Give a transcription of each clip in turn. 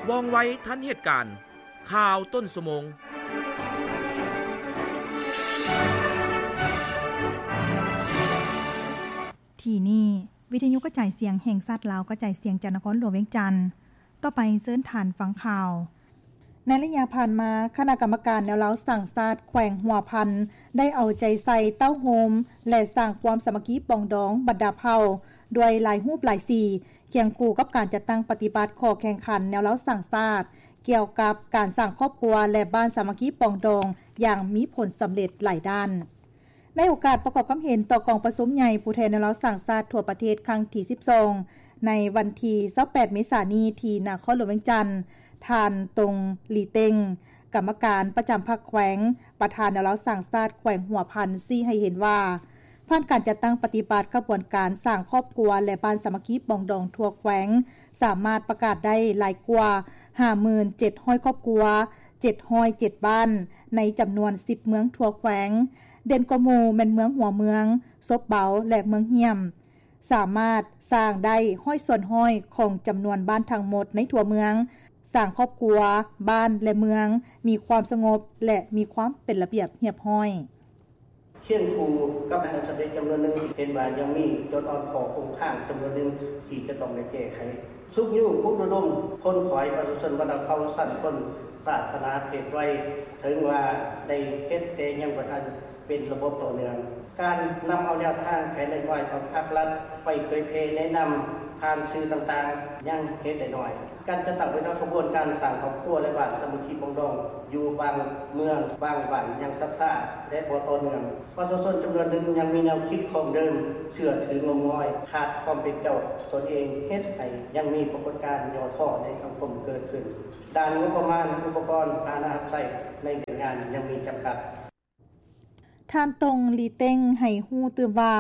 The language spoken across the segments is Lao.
ວ່ອງໄວທັນເຫດການ. ຂ່າວຕົ້ນຊົ່ວໂມງ. ທີ່ນີ້ ວິທະຍຸກະຈາຍສຽງແຫ່ງຊາດລາວ ກະຈາຍສຽງຈາກນະຄອນຫຼວງວຽງຈັນ. ຕໍ່ໄປເຊີນທ່ານຟັງຂ່າວ. ໃນໄລຍະຜ່ານມາ, ຄະນະກຳມະການແນວລາວສ້າງຊາດແຂວງຫົວພັນ ໄດ້ເອົາໃຈໃສ່ເຕົ້າໂຮມ ແລະ ສ້າງຄວາມສາມັກຄີປອງດອງບັນດາເຜົ່າ ດ້ວຍຫຼາຍຮູບຫຼາຍສີ, ຄຽງຄູ່ກັບການຈັດຕັ້ງປະຕິບັດຂໍ້ແຂ່ງຂັນແນວລາວສ້າງຊາດ ກ່ຽວກັບການສ້າງຄອບຄົວ ແລະ ບ້ານສາມັກຄີປອງດອງຢ່າງມີຜົນສຳເລັດຫຼາຍດ້ານ. ໃນໂອກາດປະກອບຄຳເຫັນຕໍ່ກອງປະຊຸມໃຫຍ່ຜູ້ແທນແນວລາວສ້າງຊາດທົ່ວປະເທດຄັ້ງທີສິບສອງ ໃນວັນທີຊາວແປດ ເມສານີ້ ທີ່ນະຄອນຫຼວງວຽງຈັນ, ທ່ານ ຕົງ ລີເຕັງ ກຳມະການປະຈຳພັກແຂວງ, ປະທານແນວລາວສ້າງຊາດແຂວງຫົວພັນ ຊີ້ໃຫ້ເຫັນວ່າ, ຜ່ານການຈັດຕັ້ງປະຕິບັດຂະບວນການສ້າງຄອບຄົວ ແລະ ບ້ານສາມັກຄີປອງດອງທົ່ວແຂວງ ສາມາດປະກາດໄດ້ຫຼາຍກວ່າ ຫ້າໝື່ນເຈັດຮ້ອຍຄອບຄົວ, ເຈັດຮ້ອຍເຈັດບ້ານ ໃນຈຳນວນສິບເມືອງທົ່ວແຂວງ. ເດັ່ນກວ່າໝູ່ແມ່ນເມືອງຫົວເມືອງ, ສົບເບົາ ແລະ ເມືອງຫ້ຽມ. ສາມາດສ້າງໄດ້ຮ້ອຍສ່ວນຮ້ອຍຂອງຈຳນວນບ້ານທັງໝົດໃນທົ່ວເມືອງ, ສ້າງຄອບຄົວ, ບ້ານ ແລະ ເມືອງມີຄວາມສະຫງົບ ແລະ ມີຄວາມເປັນລະບຽບຮຽບຮ້ອຍ. ຄຽງຄູ່ກັບຜົນສຳເລັດຈຳນວນໜຶ່ງ, ເຫັນວ່າຍັງມີຈຸດອ່ອນຂໍ້ຄົງຄ້າງຈຳນວນໜຶ່ງທີ່ຈະຕ້ອງໄດ້ແກ້ໄຂ. ຊຸກຍູ້ປຸກລະດົມຂົນຂວາຍປະຊາຊົນບັນດາເຜົ່າ, ຊັ້ນຄົນ, ສາສະໜາ, ເພດໄວ, ເຖິງວ່າໄດ້ເຮັດແຕ່ຍັງບໍ່ທັນ ເປັນລະບົບຕໍ່ເນື່ອງ. ການນຳເອົາແນວທາງແຜນນະໂຍບາຍຂອງພາກລັດໄປເຜີຍແຜ່ແນະນຳຜ່ານສື່ຕ່າງໆ ຍັງເຫັນໄດ້ໜ້ອຍ. ການຈັດຕັ້ງເປັນຂະບວນການສ້າງຄອບຄົວ ແລະ ບ້ານສາມັກຄີປອງດອງຢູ່ບາງເມືອງ, ບາງບ້ານຍັງຊັກຊ້າ ແລະ ບໍ່ຕໍ່ເນື່ອງ. ປະຊາຊົນຈຳນວນໜຶ່ງຍັງມີແນວຄິດຄອງເດີມ, ເຊື່ອຖືງົມງອຍ, ຂາດຄວາມເປັນເຈົ້າຕົນເອງ, ເຮັດໃຫ້ຍັງມີປາກົດການຫຍໍ້ທໍ້ໃນສັງຄົມເກີດຂຶ້ນ. ດ້ານງົບປະມານ, ອຸປະກອນ, ພາຫະນະຮັບໃຊ້ໃນວຽກງານຍັງມີຈຳກັດ. ທ່ານ ຕົງ ລີເຕັງ ໃຫ້ຮູ້ຕື່ມວ່າ,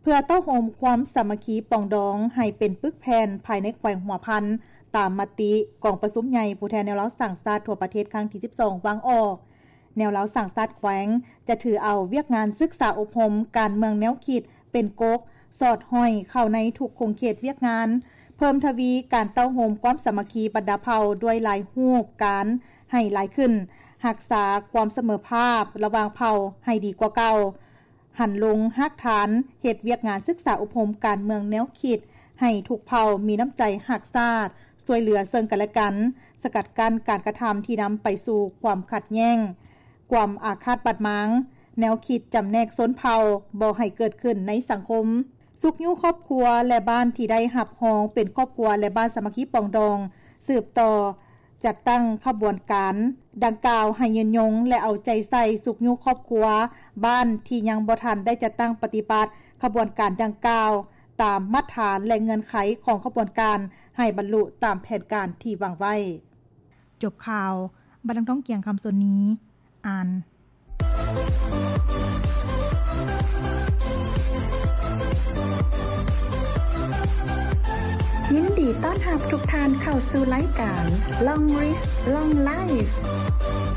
ເພື່ອເຕົ້າໂຮມຄວາມສາມັກຄີປອງດອງໃຫ້ເປັນປຶກແຜ່ນພາຍໃນແຂວງຫົວພັນ, ຕາມມະຕິກອງປະຊຸມໃຫຍ່ຜູ້ແທນແນວລາວສ້າງຊາດທົ່ວປະເທດຄັ້ງທີສິບສອງ ວາງອອກ, ແນວລາວສ້າງຊາດແຂວງຈະຖືເອົາວຽກງານສຶກສາອົບຮົມການເມືອງແນວຄິດ ເປັນກົກສອດຫ້ອຍເຂົ້າໃນທຸກຂົງເຂດວຽກງານ, ເພີ່ມທະວີການເຕົ້າໂຮມຄວາມສາມັກຄີບັນດາເຜົ່າດ້ວຍຫຼາຍຮູບການໃຫ້ຫຼາຍຂຶ້ນ, ຮັກສາຄວາມສະເໝີພາບລະຫວ່າງເຜົ່າໃຫ້ດີກວ່າເກົ່າ, ຫັນລົງຮາກຖານເຮັດວຽກງານສຶກສາອົບຮົມການເມືອງແນວຄິດໃຫ້ທຸກເຜົ່າມີນ້ຳໃຈຮັກຊາດ, ຊ່ວຍເຫຼືອເຊິ່ງກັນແລະກັນ, ສະກັດກັ້ນການກະທຳທີ່ນຳໄປສູ່ຄວາມຂັດແຍ່ງ, ຄວາມອາຄາດບາດໝາງ, ແນວຄິດຈຳແນກຊົນເຜົ່າບໍ່ໃຫ້ເກີດຂຶ້ນໃນສັງຄົມ, ຊຸກຍູ້ຄອບຄົວ ແລະ ບ້ານທີ່ໄດ້ຮັບຮອງເປັນຄອບຄົວ ແລະ ບ້ານສາມັກຄີປອງດອງ ສືບຕໍ່ຈັດຕັ້ງຂະບວນການດັ່ງກ່າວໃຫ້ຍືນຍົງ ແລະ ເອົາໃຈໃສ່ຊຸກຍູ້ຄອບຄົວ, ບ້ານທີ່ຍັງບໍ່ທັນໄດ້ຈັດຕັ້ງປະຕິບັດຂະບວນການດັ່ງກ່າວ ຕາມມາດຖານ ແລະ ເງື່ອນໄຂຂອງຂະບວນການ ໃຫ້ບັນລຸຕາມແຜນການທີ່ວາງໄວ້. ຈົບຂ່າວ, ບັດດັງທອງ ກຽງຄຳສົນນີ ອ່ານ. ຍິນດີຕ້ອນຮັບທຸກທ່ານເຂົ້າສູ່ລາຍການ Long Reach Long Life